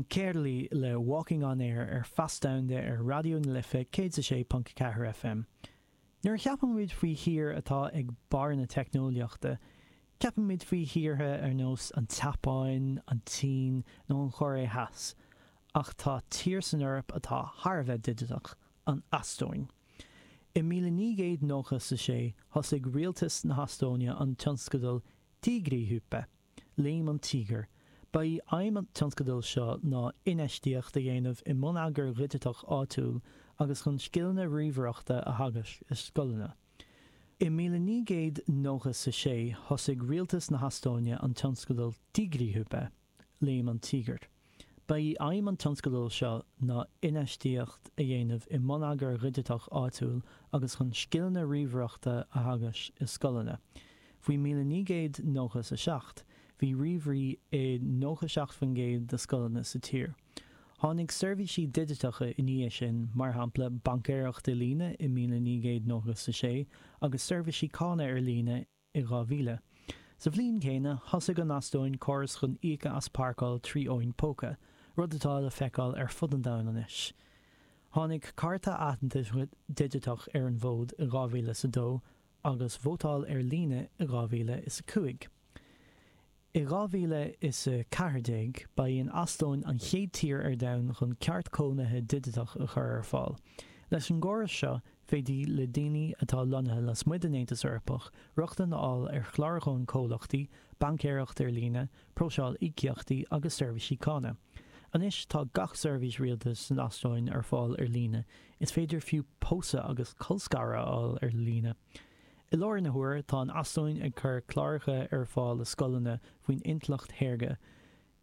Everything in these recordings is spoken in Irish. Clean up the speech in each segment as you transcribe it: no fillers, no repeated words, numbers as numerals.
Sin Kerli le Walking on Air ar Feas Domhanda ar Raidió na Life 106.4 FM. Nuair a cheapaimid faoi thír atá ag barr na teicneolaíochta, ceapaimid faoi thíortha ar nós an tSeapáin, an tSín nó an Chóiré Theas. Ach tá tír san Eoraip atá thar a bheith digiteach, an Eastóin. I 1996 thosaigh rialtas na hEastóine an tionscadal Tiigrihüpe, Léim an Tíogair. Ba í aidhm an tionscadail seo ná infheistíocht a dhéanamh i mbonneagar dhigiteach áitiúil agus chun scileanna ríomhaireachta a theagasc i scoileanna. I 1996 thosaigh rialtas na hEastóine an tionscadal Tiigrihüpe, Léim an Tíogair. Ba í aidhm an tionscadail seo ná infheistíocht a dhéanamh i mbonneagar dhigiteach áitiúil agus chun scileanna ríomhaireachta a theagasc i scoileanna. Faoi 1997, bhí ríomhairí i 97% de scoileanna sa tír. Tháinig seirbhísí digiteacha i ndiaidh sin, mar shampla baincéireacht i líne i 1996 agus seirbhísí cánach ar líne i 2000. Sa bhliain chéanna, thosaigh an Eastóin córas chun íoc as páirceáil trí fhóin póca, rud atá le feiceáil ar fud an domhain anois. Tháinig cárta aitheantais digiteach ar an bhfód i 2002 agus vótáil ar líne i 2005. I 2014, ba í an Eastóin an chéad tír ar domhan chun ceart cónaithe digiteach a chur ar fáil. Leis an gcóras seo, féadfaidh le daoine atá lonnaithe lasmuigh den Aontas Eorpach rochtain a fháil ar chlárúcháin comhlachtaí, baincéireacht ar líne, próiseáil íocaíochtaí agus seirbhísí cánach. Anois tá gach seirbhís rialtais san Eastóin ar fáil ar líne, is féidir fiú pósadh agus colscaradh a fháil ar líne. I láthair na huaire, tá an Eastóin ag cur cláracha ar fáil i scoileanna faoin intleacht shaorga,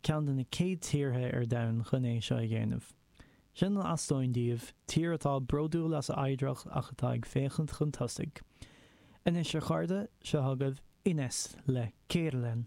ceann de na céad tíortha ar domhan chun é seo a dhéanamh. Sin an Eastóin daoibh, tír atá bródúil as a oidhreacht ach atá ag féachaint chun tosaigh. Anois a chairde, seo chugaibh Ines le Keerlen.